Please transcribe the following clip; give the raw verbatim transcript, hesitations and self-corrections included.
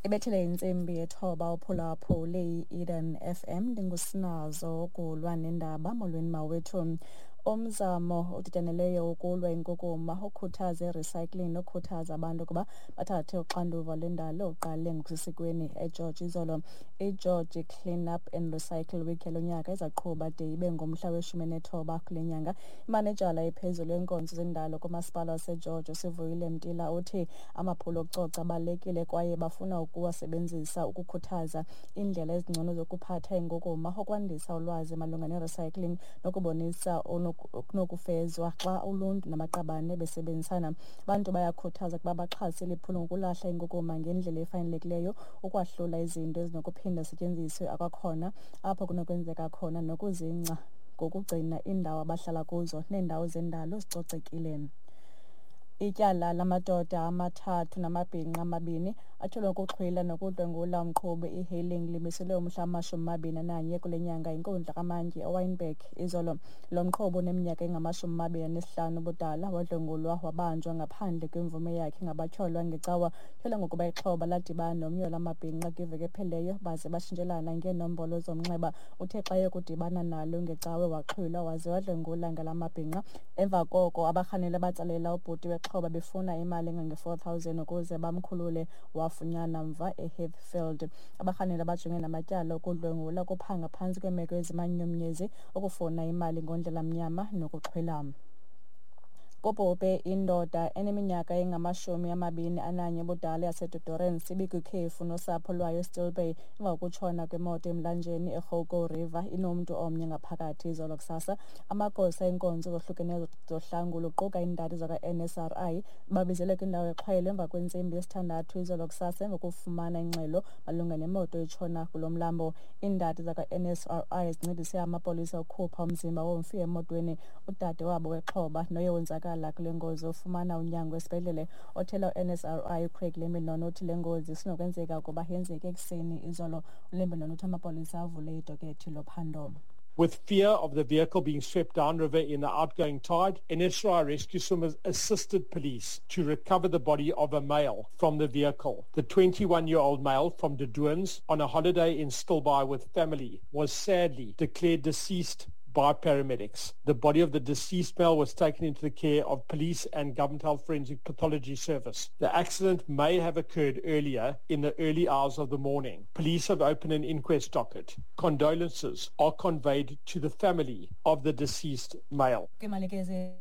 Ibethile intsimbi yethoba uphulaphule i-Eden F M. Ndingusinazo ukulwa nendaba. Molweni mawethu. Umzamo odityaneleyo ukulwa inkukuma, ukhuthaza i-recycling nokhuthaza abantu ukuba bathathe uxanduva lwendalo uqale ngokusesikweni eGeorge izolo. IGeorge Clean Up and Recycle Week yalo nyaka izaqhuba de ibe ngumhla weshumi nethoba kule nyanga. Imanejala ephezulu yenkonzo zendalo kumasipala waseGeorge, uSivuyile Mtila, uthi amaphulo okucoca abalulekile kwaye bafuna ukuwasebenzisa ukukhuthaza iindlela ezingcono zokuphatha inkukuma, ukwandisa ulwazi malunga ne-recycling nokubonisa okunokufezwa xa uluntu namaqabane besebenzisana. Abantu bayakhuthaza ukuba baxhase eli phulo ngokulahla inkukuma ngendlela efanelekileyo, ukwahlula izinto ezinokuphinda zisetyenziswe akwakhona apho kunokwenzeka khona, nokuzingca ngokugcina iindawo abahlala kuzo neendawo zendalo zicocekile. Ityala lamadoda amathathu namabhinqa amabini atyholwa ngokuxhwila nokudlwengula umqhubi e-hailing limiselwe umhla wamashumi amabini ananye kule nyanga yinkundla kamantyi eWynberg izolo. Lo mqhubi uneminyaka engamashumi amabini anesihlanu ubudala wadlwengulwa wabanjwa ngaphandle kwemvume yakhe ngabatyholwa ngeCawa. Tyholwa ngokuba ixhoba ladibana nomnye wala mabhinqa kwiveki ephelileyo baze batshintshelana ngeenombolo zomnxeba. Uthe xa eyokudibana nalo ngeCawe waxhwilwa waze wadlwengula ngala mabhinqa. Emva koko abarhanelwa batsalela ubhuti wexhoba befuna imali engange-four thousand ukuze bamkhulule, wafunyanwa mva eHeathfield. Abarhanelwa bajongene namatyala okudlwengula, ukuphanga phantsi kweemeko ezimanyumnyezi, ukufuna imali ngondlela mnyama nokuxhwila. Kubhubhe indoda eneminyaka engamashumi amabini ananye ubudala yaseDe Doorns ibikwikhefu nosapho lwayo eStill Bay emva kokutshona kwemoto emlanjeni eGoukou River inomntu omnye ngaphakathi izolo kusasa. Amagosa eenkonzo zohlukeneyo zohlangulo kuquka iindadi zakwa-N S R I babizelwe kwindawo exhwayelo emva kwentsimbi yesithandathu izolo kusasa emva kokufumana ingxelo malunga nemoto etshona kulo mlambo. Iindadi zakwa-N S R I zincedise amapolisa ukukhupha umzimba womfi emotweni. Udade wabo wexhoba noye wonzakala kule ngozi ufumana unyango esibhedlele. Othela u-N S R I uCraig Lembinon uthi le ngozi isenokwenzeka ukuba yenzeke ekuseni izolo. ULembinon uthi amapolisa avule idokethi lophando. With fear of the vehicle being swept downriver in the outgoing tide, N S R I rescue swimmers assisted police to recover the body of a male from the vehicle. The twenty-one-year-old male from De Doorns on a holiday in Stilbaai with family was sadly declared deceased by paramedics. The body of the deceased male was taken into the care of police and Government Health Forensic Pathology Service. The accident may have occurred earlier in the early hours of the morning. Police have opened an inquest docket. Condolences are conveyed to the family of the deceased male. Kwimalike.